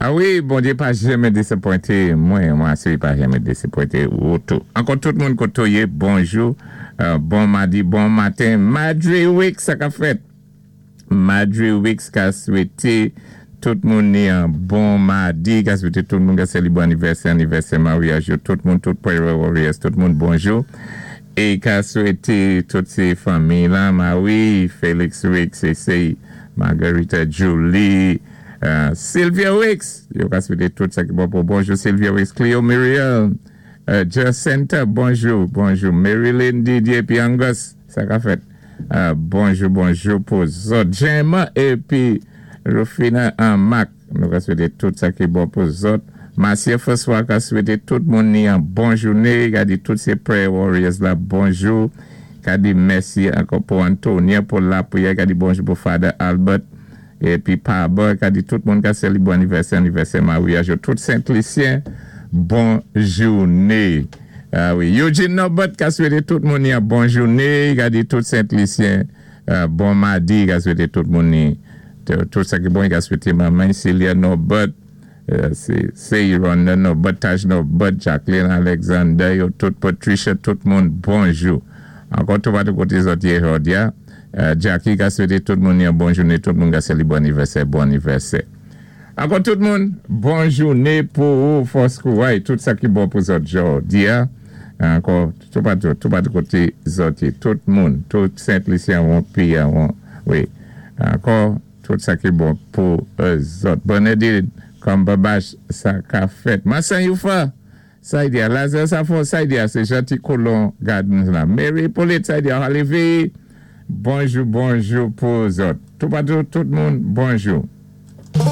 A wi, Bondyé pa janmen désapwenté mwen, mwen asiré pa janmen désapwenté ou tou. Ankò tout moun koté w yé, bonjou, bon madi, bon maten. Madre Wicks, sa kap fèt? Madre Wicks ka swété tout moun ni an bon madi, ka swété tout moun ka sélébwé anivèsè, anivèsè maryaj yo, tout moun, tout Prayer Warriors, tout moun bonjou. É ka swété tout sé fanmiy lan, Marie, Felix Wicks, Essay, Margarita, Julie, Sylvia Wicks, yo ka swete tout sa ki bon pou bonjou Sylvia Wicks, Cleo Muriel, Jacintha, bonjou, bonjou Maryline Didier epi Angus, sa ka fèt, bonjou, bonjou pou zòt Gemma epi Rufina Mac, nou ka swete tout sa ki bon pou zòt Marcia François ka swete tout moun ni an bon joune, ka di tout se prayer warriors la bonjou, ka di mèsi ankò pou Antonia pou lapriyè, ka di bonjou pou Father Albert. Epi pa bò ka di tout moun ka selebre anivèsè anivèsè maryaj yo tout sentlisyen bon joune ah wi Eugene Norbert ka swete tout moun yon bon joune ka di tout sentlisyen bon madi ka swete tout moun ni tout sa ki bon ka swete manman Celia Norbert se Yronda Norbert Taj Norbert Jacqueline Alexander yo tout Patricia tout moun bonjou ankò toupatou kote zòt ye jòdya Jacky ka swete tout moun yon bon joune tout moun ka selebre anivèsè bon anivèsè ankò tout moun bon joune pou ou fòs kouray tout sa ki bon pou zòt jòdya ankò toupatou toupatou kote zòt ye tout moun tout sentlisyen won piya won wi ankò. Tout sa ki bon pou zòt. Bernadine Cumberbatch sa ka fèt. Marcin Youfa sa y di a Lazarre Safon sa y di a se Jeanty Colon Gardens la. Mary Hyppolite sa y di a Holly Bonjou bonjou pou zòt. Toupatou tout moun bonjou.